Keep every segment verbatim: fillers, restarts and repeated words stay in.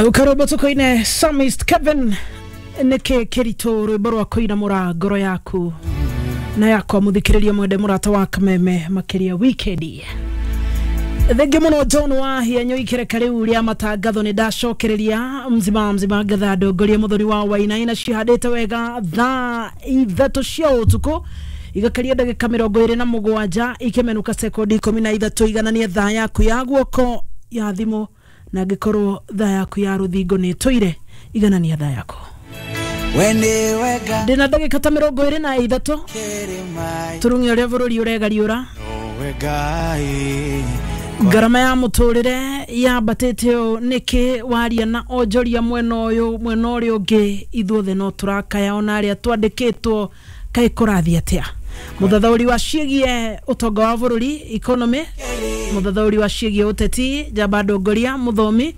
Ukarwimbo tukoine Psalmist Kevin niki kiritu rwimbo rwa kuina mura ngoro yaku na yakwa muthikiriria mwende murata wa Kameme makiria weekend. Thengi muno John Wahia nyoikire riu ria matangatho ni ndacokereria mzima mzima ngatha ndongoria muthuri wa Wainaina cihandite wega thaa ithatũ cia ũtukũ igakaria ndagĩka mĩrongo ĩrĩ na mũgwanja ikemenuka sekondi ikũmi na ithatũ igananie thaa yaku ya guoko ya thimũ na ngĩkorwo thaa yaku ya rũthingo nĩ ĩtũire iganania thaa yaku ndĩna ndagĩka ta mĩrongo ĩrĩ na ithatũ tũrung'e ũrĩa bũrũri ũregariũra ngarama ya muturire yambatĩte ũũ nĩkĩ waria na onjoria mwena ũyũ mwena ũrĩa ũngĩ ithuothe no tũrakaya ona arĩa twandĩkĩtwo kaĩ kũrathiĩ atĩa. Mũthathaũri wa ciĩgiĩ ũtonga wa bũrũri economy, mũthathaũri wa ciĩgiĩ ũteti njamba ndongoria mũthomi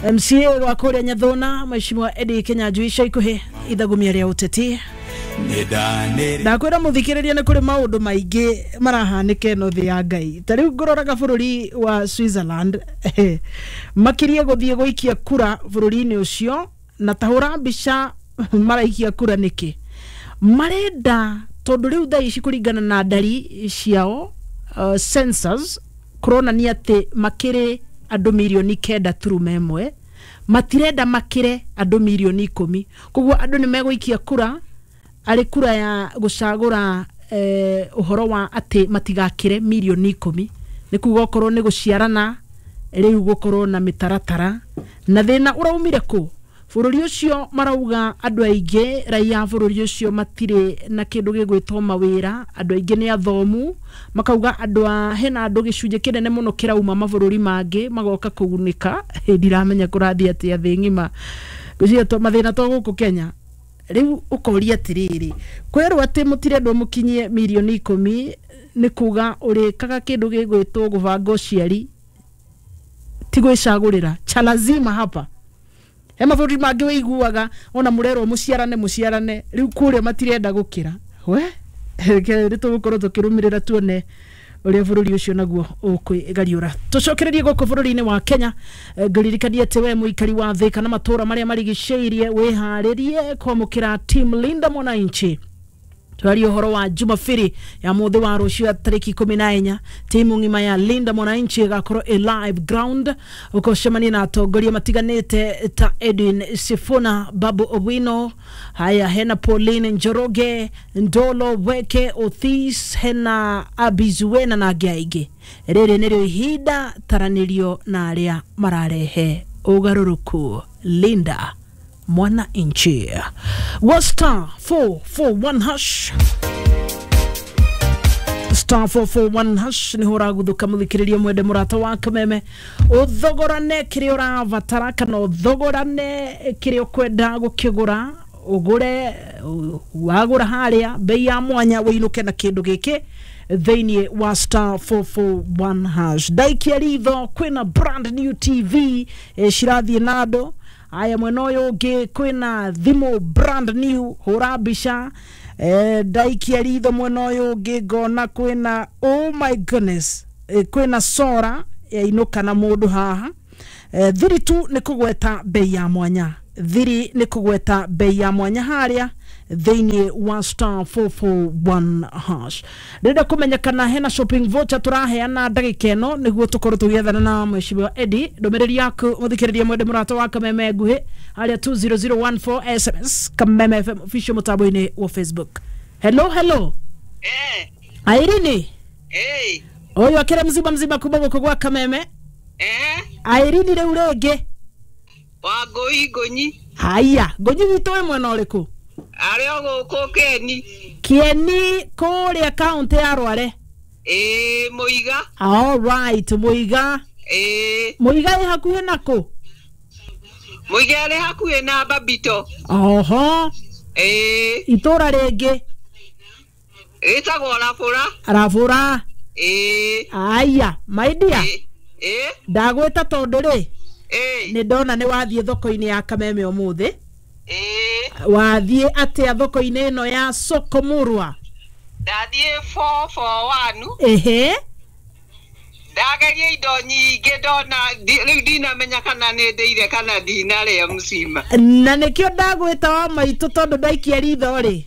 M C A wa kũrĩa Nyathũna Mheshimiwa Eddie Kinyanjui ica ikuhĩ ithagumia rĩa ũteti. Ndakwĩra mũthikĩrĩria nĩ kũrĩ maũndũ maingĩ marahanĩka ĩno thĩ ya Ngai. Ta rĩu ngũroraga bũrũri wa Switzerland makirie gũthiĩ gũikia kura bũrũri-inĩ ũcio na tahũra mbica maraikia kura nĩkĩ marenda tondũ rĩu thaa ici kũringana na ndari ciao uh, census kũronania atĩ makĩrĩ andũ mirioni kenda turuma ĩmwe matirenda makĩre andũ mirioni ikũmi koguo andũ nĩ megũikia kura arĩ kura ya gũcagũra eh, ũhoro wa atĩ matigakĩre mirioni ikũmi nĩ kuga okorwo nĩ gũciarana rĩu gũkorwo na mĩtaratara na thĩna ũraumire kũ bũrũri ũcio marauga andũ aingĩ raia a bũrũri ũcio matirĩ na kĩndũ gĩgwĩtwo mawĩra andũ aingĩ nĩ athomu makauga andũ a hena andũ gĩcunjĩ kĩnene mũno kĩrauma mabũrũri mangĩ magoka kũgunĩka. Ndiramenya kũrathiĩ atĩa thĩ ng'ima ngwĩciria to mathĩna to gũkũ Kenya. Rĩu ũkoria atĩrĩrĩ kwĩrwo atĩ mũtirendwo mũkinyie mirioni ikũmi nĩ kuga ũrĩkaga kĩndũ gĩgwĩtwo gũbanga ũciari ti gwĩcagũrĩra cha lazima hapa he mabũrũri mangĩ wĩiguaga ona mũrerwo mũciarane mũciarane rĩu kũrĩa matirenda gũkĩra we nĩ tũgũkorwo tũkĩrũmĩrĩra tuone ũrĩa bũrũri ũcio naguo ũkwĩgariũra. Tũcokererie gũkũ bũrũri-inĩ wa Kenya ngũririkanie atĩ we mũikari wa thĩ kana matũũra marĩa marigicĩirie wĩharĩrie kwamũkĩra team Linda Mwananchi. Twaria ũhoro wa Jumapili ya mũthĩ wa rũciũ ya tarĩki ikũmi na inya timu ng'ima ya Linda Mwananchi ĩgakorwo ĩ live ground ũkũcemania na atongoria matiganĩte ta Edwin Sifuna, Babu Owino, haya hena Pauline Njoroge, Ndolo Weke Othis, hena Abizuena na angĩ aingĩ. Rĩrĩ nĩrĩo ihinda taranĩrio na arĩa mararehe ũgarũrũku. Linda Mwananchi was star four four one hash star four four one hash ni hora guthuka muthikiriria mwende murata wa Kameme uthogorane kiria urabatara kana uthogorane kiria ukwenda gukigura ugure wagura haria bei ya mwanya wiinuke na kindu giki thiini wa star four four one hash. Ndaikia ritho kwina brand new T V e, cirathie na andu aya mwena ũyũ ũngĩ kwĩna thimũ brand new hũra mbica eh, ndaikia ritho mwena ũyũ ũngĩ ngona kwĩna oh my goodness eh, kwĩna sora yainũka na mũndũ haha eh, thiri tu nĩ kũgweta bei ya mwanya thiri nĩ kũgweta bei ya mwanya harĩa thĩinĩ wa star four four one hash. Ndĩrenda kũmenya kana hena shopping voucher tũraheana ndagĩka ĩno nĩguo tũkorwo tũgĩethana na Mheshimiwa Eddie. Ndũmĩrĩri yaku mũthikĩrĩria mwende mũrata wa Kameme nguhĩ harĩa two zero zero one four S M S Kameme F M official mũtambo-inĩ wa Facebook. Hello hello. Eh. Irene. Eh. Ũyũ akĩra mzima mzima kuma gũkũ gwa Kameme. Eh. Irene rĩu rĩngĩ. Wa ngũi ngũnyi. Haya, ngũnyi witũ wĩ mwena ũrĩkũ? Arĩ o gũkũ Kieni. Kieni kũrĩa kaunti ya Rware. Ĩĩ Mũiga. All right, Mũiga. Ĩĩ. Mũiga ĩ hakuhĩ na kũ? Mũiga ĩrĩ hakuhĩ na Babito. Oho. Ĩĩ. Itũra rĩngĩ. Ĩtagwo Rabũra. Rabũra. Ĩĩ. Aya, my dear. Ĩĩ. Ndagwĩta tondũ rĩ. Ĩĩ. Nĩ ndona nĩ wathiĩ thoko-inĩ ya Kameme ũmũthĩ. Ĩĩ. Wathiĩ atĩa thoko-inĩ ĩno ya Soko Murwa? Ndathiĩ four four one. Ehe. Ndageria indo nyingĩ ndona rĩu ndinamenya kana nĩ ndĩire kana ndinarĩa mcima. Na nĩkĩo ndagwĩta wa maitũ tondũ ndaikia ritho rĩ.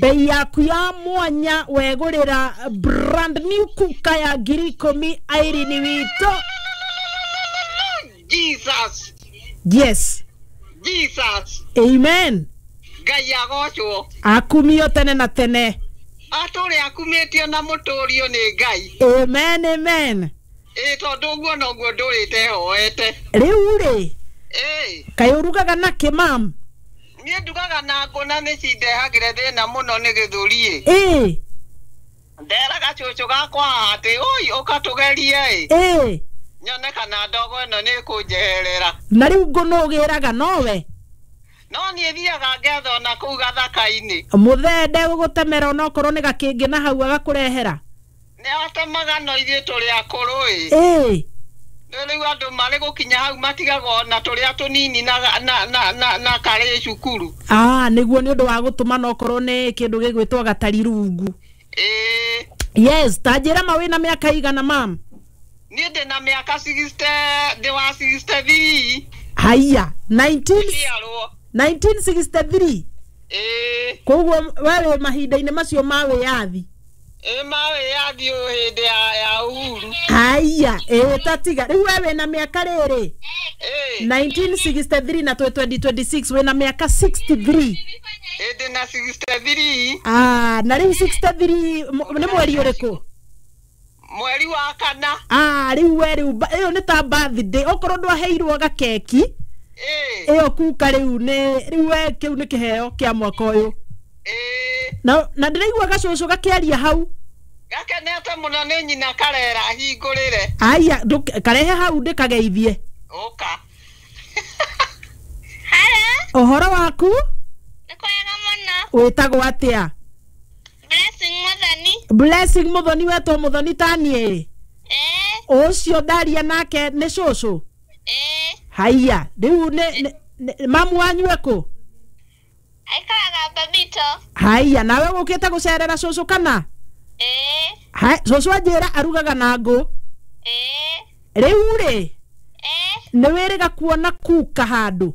Bei yaku ya mwanya wegũrĩra brand new kuka ya ngiri ikũmi Irene witũ. Jesus. Yes. Jesus. Amen. Ngai agocwo. Akumio tene na tene. Atũrĩ akumĩtio na mũtũrio nĩ Ngai. Amen, amen. Ĩ tondũ ũguo noguo ndũrĩte hoete. Rĩu rĩ. Ĩ. Kaĩ ũrugaga nakĩ mam? Niĩ ndugaga na ngũ na nĩ cindehagĩre thĩna mũno nĩ gĩthũri. Ĩ. Nderaga cũcũ gakwa atĩ oi ũka tũgerie ĩ. Ĩ. Nyone kana ndogo ĩno nĩ ĩkũnjeherera. Na rĩu ngũ nũ ũgĩraga nowe? No niĩ thiaga ngetha ona kũu gathaka-inĩ. Mũthee ndegũgũtemera onokorwo nĩ gakĩngĩ na hau agakũrehera? Nĩ atemaga no ithuĩ tũrĩ akũrũ ĩ. Ĩ. Rĩu andũ marĩ gũkinya hau matigagwo ona tũrĩa tũnini na na na na, na karĩ cukuru. Ah, nĩguo nĩ ũndũ wa gũtũma nokorwo nĩ kĩndũ gĩgwĩtwo gatari rungu. Ĩ. Yes, ta njĩra ma wĩna mĩaka igana mam? Niĩ ndĩ na mĩaka sixty, ndĩ wa sixty-three. Haiya, nineteen sixty-three. Ĩ. Koguo we wĩ mahinda-inĩ macio ma wĩyathi. Ĩ ma wĩyathi o hĩndĩ ya ya Uhuru. Haiya, ĩ tatiga. Rĩu we wĩna mĩaka rĩrĩ? Ĩ. nineteen sixty-three na twĩ twenty twenty-six wĩna mĩaka sixty-three. Ĩ ndĩ na sixty-three. Ah, na rĩu sixty-three nĩ mweri ũrĩkũ? Mweri wa kana. Ah, rĩu we rĩu ĩyo nĩ ta birthday okorwo ndwaheirwo gakeki. Ĩ. Ĩyo kuka rĩu nĩ rĩu we kĩu nĩ kĩheo kĩa mwaka ũyũ. Ĩ. Na na ndĩraigua gacũcũ gakĩaria hau. Gakenete mũno nĩ nyina karera hingũrĩre. Aya, karehe hau ndĩkageithie. Ũka. Hello. Ũhoro waku? Nĩ kwega mũno. Wĩtagwo atĩa? Blessing Muthoni. Blessing Muthoni wetwo Muthoni ta niĩ? Ĩ. Ũcio ndaria nake nĩ cũcũ? Ĩ. Haiya, rĩu nĩ mamu wanyu ekũ? Aikaraga Babito. Haiya, nawe ũkĩte gũcerera cũcũ kana? Ĩ. Hai, cũcũ anjĩra arugaga na ngũ. Ĩ. Rĩu rĩ? Ĩ. Nĩ wĩrĩga kuona kuka handũ?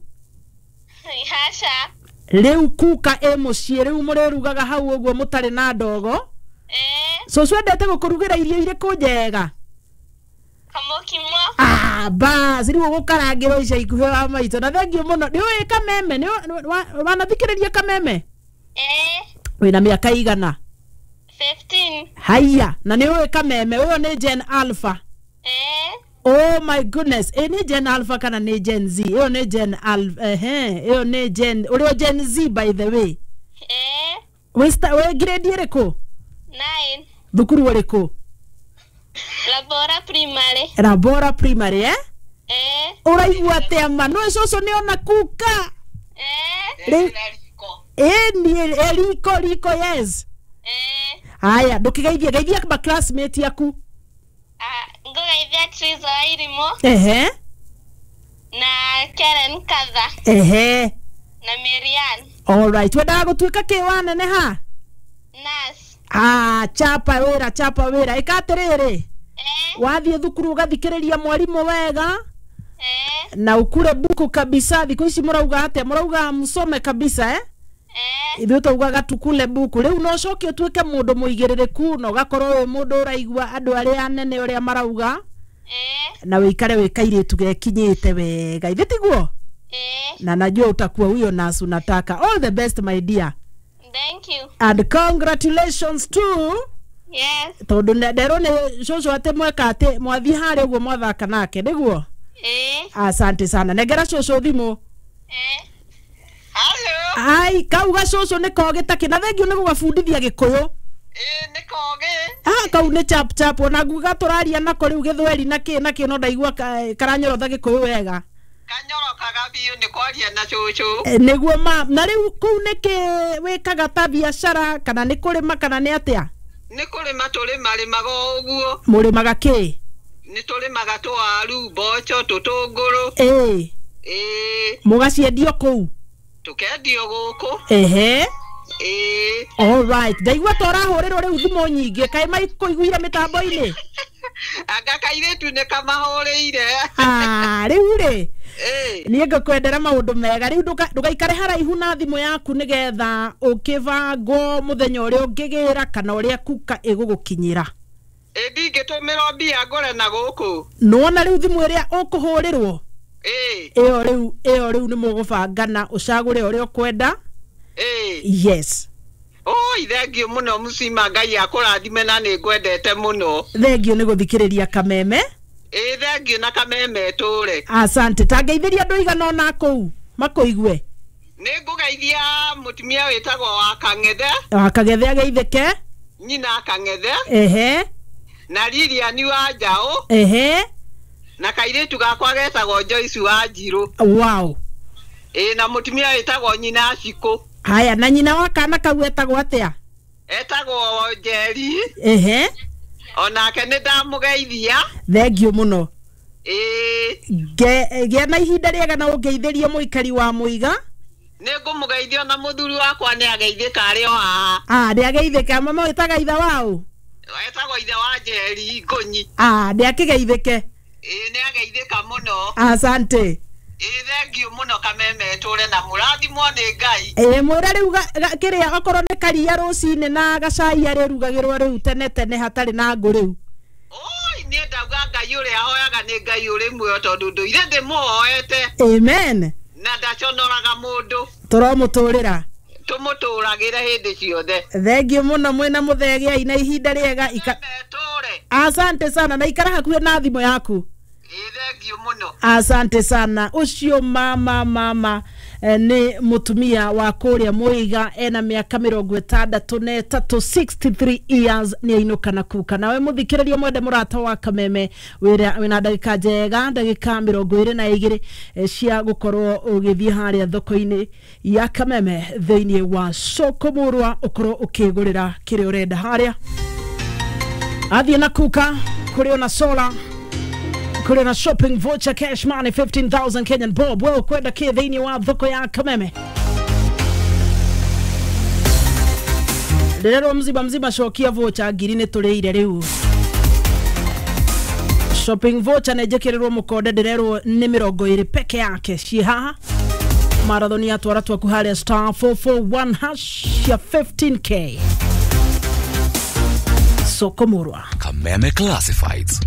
Haca. Rĩu kuka ĩ mũciĩ rĩu mũrĩrugaga hau ũguo mũtarĩ na ndogo. Ĩ. Cũcũ endete gũkũrugĩra irio irĩkũ njega? Kamũkimo. Ah, bas, rĩu ũgũkarangĩrwo ica ikuhĩ wa maitũ. Na thengiũ mũno. Nĩ ũĩ kameme? Nĩ wanathikĩrĩria kameme? Ĩ. Wĩna mĩaka igana? fifteen. Haiya, na nĩ ũĩ kameme? Ũyũ nĩ Gen Alpha. Ĩ. Oh my goodness, ĩ nĩ Gen Alpha kana nĩ Gen Z? Ĩyo nĩ Gen Alpha, ehe, ĩyo nĩ Gen, ũrĩ o Gen Z by the way. Ĩ. Wĩ grade ĩrĩkũ? Nine. Thukuru ũrĩkũ? Labora Primary. Labora Primary, eh? Eh. Ũraigua atĩa ma? Nĩ cũcũ nĩ ona kuka. Eh. Eh, ni riko riko yes. Eh. Haya, ndũkĩgeithie geithia ma classmate yaku. Ah, ngũgeithia Triza Wairimu. Ehe. Na Karen Katha. Ehe. Na Marian. All right, wendaga gũtuĩka kĩ waneneha? Nurse. Ah, chapa wĩra, chapa wĩra. Ĩka atĩrĩrĩ. Wathiĩ thukuru ũgathikĩrĩria mwarimũ wega. Eh. Na ukure buku kabisa. Thikũ ici mũrauga atĩa? Mũrauga msome kabisa, eh? Eh. Ithuĩ twaugaga tukule buku. Rĩu no ũcoke ũtuĩke mũndũ mũigĩrĩrĩku na ũgakorwo wĩ mũndũ ũraigua andũ arĩa anene ũrĩa marauga. Eh. Na wĩikare wĩ kairĩtu gekinyĩte wega. Ithe tiguo? Eh. Na najua utakuwa huyo nurse unataka. All the best my dear. Thank you. And congratulations to Yes. Tondu nderwo nĩ cũcũ atĩ mweka atĩ mwathiĩ harĩa ũguo mwathaka nake nĩguo? Eh. Asante sana. Nengera cũcũ thimũ. Eh. Hello. Ai, kau gacũcũ nĩ kogĩ ta kĩ na thengiũ nĩ gũgabundithia gĩkũyũ. Ĩ nĩ kogĩ. Ah, kau nĩ chap chap ona nguga tũraria nako rĩu gĩthweri na kĩ na kĩ no ndaigua karanyorotha gĩkũyũ wega. Kanyorokaga biũ nĩ kwaria na cũcũ. Nĩguo ma na rĩu kũu nĩkĩ wĩkaga ta biacara kana nĩ kũrĩma kana nĩ atĩa? Nĩ kũrĩma tũrĩmarĩmaga o ũguo. Mũrĩmaga kĩ? Nĩ tũrĩmaga tũwaru, mboco, tũtũngũrũ. Ĩ. Ĩ. Mũgaciendio kũu? Tũkendio gũkũ. Ehe. Ĩĩ. Alright, ndaigua ta ũrahũrĩrwo rĩu thimũ nyingĩ, kaĩ maikũiguire mĩtambo-inĩ? Anga kairĩtu nĩ kamahũrĩire. Ah, rĩu rĩ, Ĩĩ. niĩ ngũkwendera maũndũ mega. Rĩu ndũka- ndũgaikare haraihu na thimũ yaku nĩgetha ũkĩbangwo mũthenya ũrĩa ũngĩgĩra kana ũrĩa kuka ĩgũgũkinyĩra. Ĩ ndingĩtũmĩrwo mbia ngũre na gũkũ. Nĩwona rĩu thimũ ĩrĩa ũkũhũrĩrwo? Ĩĩ. Ĩyo rĩu, ĩyo rĩu nĩ mũgũbangana ũcagũre ũrĩa ũkwenda. Ĩĩ. Yes. Oi, thengiũ mũno mũcima, Ngai akũrathime na nĩ ngwendete mũno. Thengiũ nĩ gũthikĩrĩria Kameme. Ĩĩ, thengiũ na Kameme tũre. Asante. Tangeithĩria andũ igana ona kũu makũigue. Nĩ ngũgeithia mũtumia wĩtagwo wa Kang'ethe. Wa Kang'ethe ageithĩke. Nyina Kang'ethe. Ehe. Na Lilian wa Njaũ. Ehe. Na kairĩtu gakwa getagwo Joyce wa Njirũ. Wow. Ĩĩ, na mũtumia wĩtagwo nyina Cikũ. Haya, na nyina wa kana kau etagwo atĩa? Etagwo Njeri. Ehe. Onake nĩ ndamũgeithia. Thengiũ mũno. Ĩĩ. Ge- gĩa na ihinda rĩega na ũngeithĩrie mũikari wa Mũiga. Nĩ ngũmũgeithia na mũthuri wakwa nĩ ageithĩka arĩ o haha. Ah, nĩ ageithĩka. Mama wĩtaga ithe waũ? Etagwo ithe wa Njeri Ngũnyi. Ah, nĩ akĩgeithĩke. Ĩĩ, nĩ ageithĩka mũno. Asante. Ĩĩ, thengiũ mũno Kameme tũre na mũrathimwo nĩ Ngai. Ĩĩ, mwĩre rĩu kĩrĩa okorwo nĩ karia rũcinĩ na gacai arĩrugagĩrwo rĩu tene tene hatarĩ na ngũ rĩu. Oi, niĩ ndauga Ngai ũrĩa ahoyaga nĩ Ngai ũrĩ muoyo tondũ ndũire ndĩmũhoete. Amen. Na ndaconoraga mũndũ. Tũromũtũrĩra. Tũmũtũragĩre hĩndĩ ciothe. Thengiũ mũno mwĩna mũthegea na ihinda rĩega. Ika... Tũre. Asante sana na ikara hakuhĩ na thimũ yaku. Thengiũ mũno. Asante sana. Ũcio mama mama eh, nĩ mũtumia wa kũrĩa Mũiga, ena mĩaka mĩrongo ĩtandatũ na ĩtatũ, sixty-three years, nĩ ainũka na kuka. Nawe mũthikĩrĩria mwende mũrata wa Kameme, wĩra wĩna ndagĩka njega, ndagĩka mĩrongo ĩrĩ na igĩrĩ eh, cia gũkorwo ũgĩthiĩ harĩa thoko-inĩ ya Kameme thĩinĩ wa soko mũrwa, ũkorwo ũkĩgũrĩra kĩrĩa ũrenda harĩa. Athiĩ na kuka kũrĩ ona solar, kũrĩ na shopping voucher cash money fifteen thousand Kenyan bob. Wewe kwenda kĩ thĩinĩ wa thoko ya Kameme? Ndĩrerwo mzima mzima cokia voucher ngiri nĩ tũrĩire rĩu. Shopping voucher nĩ njĩkĩrĩrwo mũkonde, ndĩrerwo nĩ mĩrongo ĩrĩ peke yake ciĩ haha. Marathoni ya twara twaku harĩa star four four one hash ya fifteen K. Soko Murwa. Kameme Classifieds.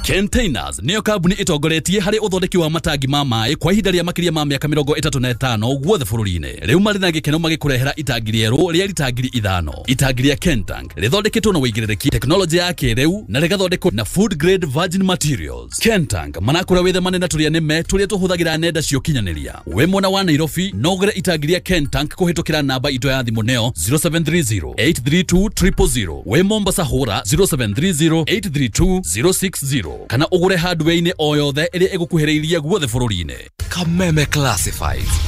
Containers niyo kambuni itongoretie harĩ ũthondeki wa matangi ma maĩ kwa ihinda rĩa makĩria ma mĩaka mĩrongo ĩtatũ na ĩtano guothe bũrũri-inĩ. Rĩu marĩ na gĩkeno magĩkũrehera itangi rĩerũ rĩa rita ngiri ithano. Itangi rĩa Kentank rĩthondeketwo na ũigĩrĩrĩki, tekinoronjĩ ya kĩrĩu na rĩgathondekwo na food grade virgin materials. Kentank manakũra wĩthemane na tũrĩa nĩme tũrĩa tũhũthagĩra nenda cia ũkinyanĩria. Wĩ mwena wa Nairobi no ũgũre itangi rĩa Kentank kũhĩtũkĩra namba itũ ya thimũ neo zero seven three zero eight three two triple zero. Wĩ Mombasa hũra zero seven three zero eight three two zero six zero kana ũgũre hardware-inĩ o yothe ĩrĩa ĩgũkuhĩrĩirie guothe bũrũri-inĩ. Kameme Classifieds.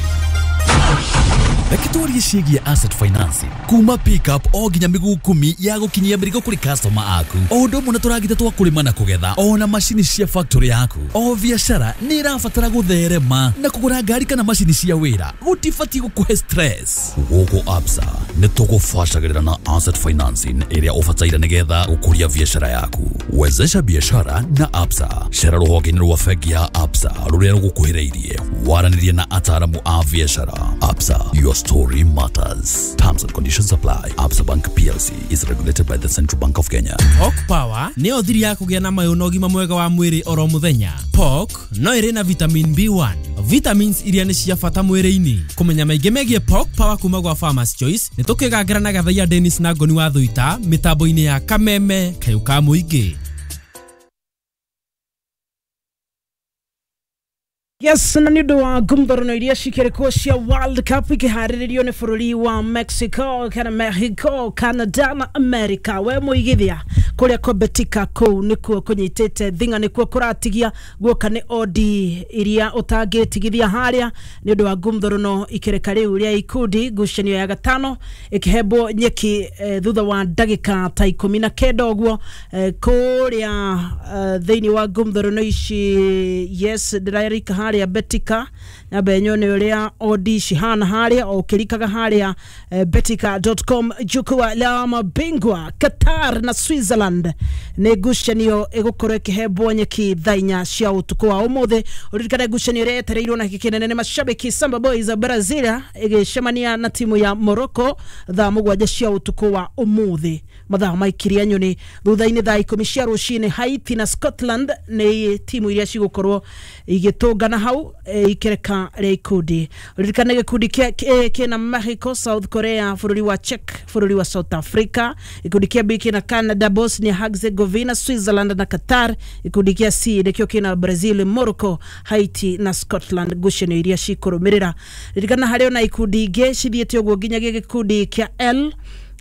Reke twarie ciĩgiĩ asset financing kuma pickup o nginya mĩguu kumi ya gũkinyia mĩrigo kũrĩ customer aku, o ũndũ ũmwe na tũragita twa kũrĩma na kũgetha, o na macini cia factory yaku. O biacara nĩ ĩrabatara gũtherema na kũgũra ngari kana macini cia wĩra gũtibatiĩ gũkũhe stress. Gũkũ Absa nĩ tũgũbacagĩrĩra na asset financing ĩrĩa ũbataire nĩgetha gũkũria biacara yaku. Wezesha biacara na Absa. Cera rũhonge-inĩ rwa bengi ya Absa rũrĩa rũgũkuhĩrĩirie, waranĩrie na ataaramu a biacara. Absa, your story matters. Terms and conditions apply. Absa Bank P L C is regulated by the Central Bank of Kenya. Pork Power nĩyo thiri ya kũgĩa na mayũ na ũgima mwega wa mwĩrĩ oro mũthenya. Pork no ĩrĩ na vitamin B one, vitamins iria nĩ cia bata mwĩrĩ-inĩ. Kũmenya maingĩ megiĩ Pork Power kuma gwa Farmers Choice nĩ tũkĩgangĩra na Gathaia Dennis na Ngoni wa Thuita mĩtambo-inĩ ya Kameme kayũ ka mũingĩ. Yes, na nĩ ũndũ wa ngumthorano iria cikĩrĩkwo cia World Cup ikĩharĩrĩrio nĩ bũrũri wa Mexico kana Mexico, Canada na America. We mũigithia kũrĩa kwa Betika kũu nĩkuo kũnyitĩte thinga, nĩkuo kũratigia guoka nĩ odi iria ũtangĩtigithia harĩa nĩ ũndũ wa ngumthorano ikĩreka rĩu rĩa ikundi ngucanio ya gatano ĩkĩhembwo nyeki eh, thutha wa ndagĩka ta ikũmi na kenda ũguo eh, kũrĩa eh, thĩinĩ wa ngumthorano ici. Yes, ndĩrarika haria Betika nyambe nyone uria odi cihana haria o ukirikaga haria eh, betika dot com. Jukwaa la mabingwa Qatar na Switzerland nĩ ngucanio ĩgũkorwo ĩkĩhembwo nyeki thaa inya cia ũtukũ wa ũmũthĩ. Ũririkane ngucanio ĩrĩa yetereirwo na gĩkĩ kĩnene nĩ mashabiki Samba Boys ya Brazil ĩgĩcemania na timu ya Morocco thaa mũgwanja cia ũtukũ wa ũmũthĩ mathaa maikiria nyoni. Thutha-inĩ thaa ikũmi cia rũcinĩ Haiti na Scotland nĩ timu iria cigũkorwo igĩtũngana hau e, ikereka rĩa ikundi. Ũririkane gĩkundi kĩa kĩna Mexico, South Korea, bũrũri wa Czech, bũrũri wa South Africa. Gĩkundi kĩa B kĩna Canada, Bosnia Herzegovina, Switzerland na Qatar. Gĩkundi kĩa C nĩkĩo kĩna Brazil, Morocco, Haiti na Scotland, ngucanio iria cikũrũmĩrĩra. Ririkana harĩ ona ikundi ingĩ cithiĩte ũguo nginyagia gĩkundi kĩa L.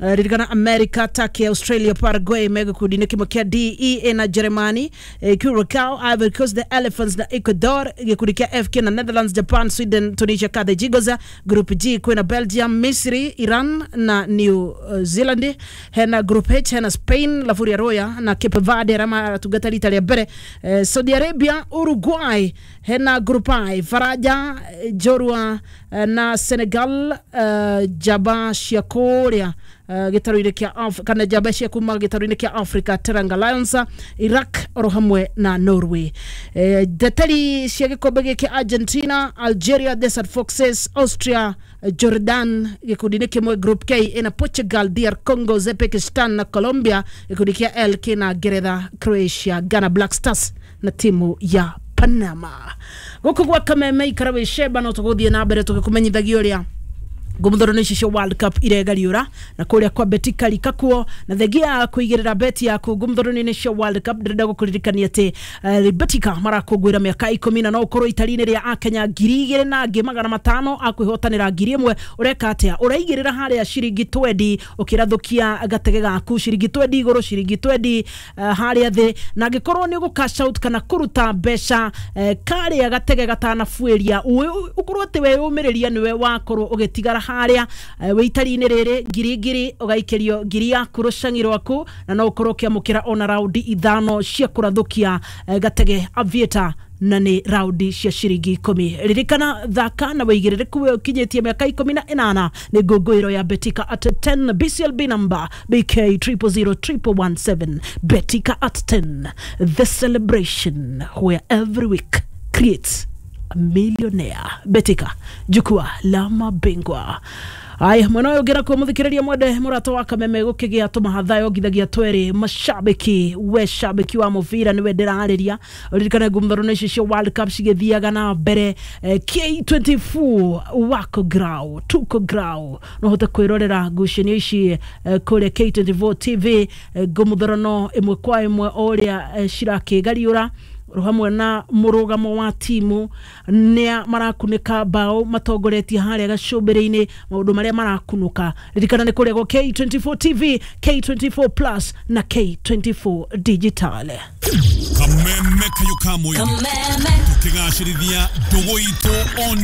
Uh, ririkana America, Turkey, Australia, Paraguay me gĩkundi-inĩ kĩmwe kĩa D, E na Germany, eh, Curacao, Ivory Coast, the Elephants na Ecuador. Gĩkundi kĩa F kĩna Netherlands, Japan, Sweden, Tunisia, Carthage Eagles. Group G kwĩna Belgium, Misri, Iran na New Zealand. Hena Group H hena Spain, La Furia Roya na Cape Verde arĩa maratungata rita rĩa mbere, eh, Saudi Arabia, Uruguay. Hena Group I Faraja, Jorua na Senegal, uh, Jaba cia kũrĩa uh, gĩtarũ-inĩ kĩa Af kana njamba cia kuma gĩtarũ-inĩ kĩa Africa, Teranga Lions, Iraq oro hamwe na Norway. Eh, ndeteri cia gĩkombe gĩkĩ Argentina, Algeria, Desert Foxes, Austria, Jordan gĩkundi-inĩ kĩmwe. Group K ina Portugal, D R Congo, Uzbekistan na Colombia. Gĩkundi kĩa L kĩna Ngeretha, Croatia, Ghana Black Stars na timu ya Panama. Gũkũ gwa Kameme ikara wĩ cemba no tũgũthiĩ na mbere tũgĩkũmenyithagia ũrĩa ngũmũthoro ici cia World Cup iregariũra na kũrĩa kwa Betika rikakuo na thengia ya kũigĩrĩra beti yaku ngũmũthoro-inĩ cia World Cup. Ndĩrenda gũkũririkania atĩ uh, Betika marakũngũĩra mĩaka ikũmi na no ũkorwo itari-inĩ rĩa akenya ngiri igĩrĩ na angĩ magana matano akwĩhotanĩra ngiri ĩmwe. Ũreka atĩa? Ũraigĩrĩra harĩa ciringi twendi ũkĩrathũkia gatege gaku ciringi twendi igũrũ ciringi twendi uh, harĩa thĩ, na angĩkorwo nĩ ũgũ cash out kana kũruta mbeca uh, karĩa gatege gatanabuĩria ũkorwo atĩ weyũmĩrĩria nĩwe wakorwo ũgĩtigara haria wĩ itari-inĩ rĩrĩ ngiri ngiri ũgaikĩrio ngiri yaku rũcang'i rwaku, na no ũkorwo ũkĩamũkĩra ona raundi ithano cia kũrathũkia gatege Aviator na nĩ raundi cia ciringi ikũmi. Ririkana thaka na wĩigĩrĩrĩku we ũkinyĩtie mĩaka ikũmi na ĩnana nĩ ngũngũĩro ya Betika at ten, B C L B number B K triple zero triple one seven. Betika at ten, the celebration where every week creates a millionaire. Betika, jukwaa la mabingwa. Aya, mwena ũyũ ũngĩra kuo mũthikĩrĩria mwende mũrata wa Kameme gũkĩgĩa tũmahatha yongithagia tweri mashabiki we shabiki wa mũbira nĩwe ndĩrarĩria. Ũririkane ngumthoro ici cia World Cup cigĩthiaga na mbere eh, K twenty-four wako grau tuko grau no hote kwĩrorera ngucanio ici eh, kũrĩa K twenty-four T V eh, ngũmũthorono ĩmwe kwa ĩmwe o ũrĩa eh, cirakĩgariũra hamwe na mũrũgamo wa timu nĩa marakunĩka bao matongoretie harĩa gacũmbĩrĩ-inĩ maũndũ marĩa marakunũka. Ririkana nĩ kũrĩa gwa K twenty-four T V, K twenty-four Plus na K twenty-four Digital. Kameme kayo kamwe. Kameme. Tukigacĩrithia ndũgũ itũ on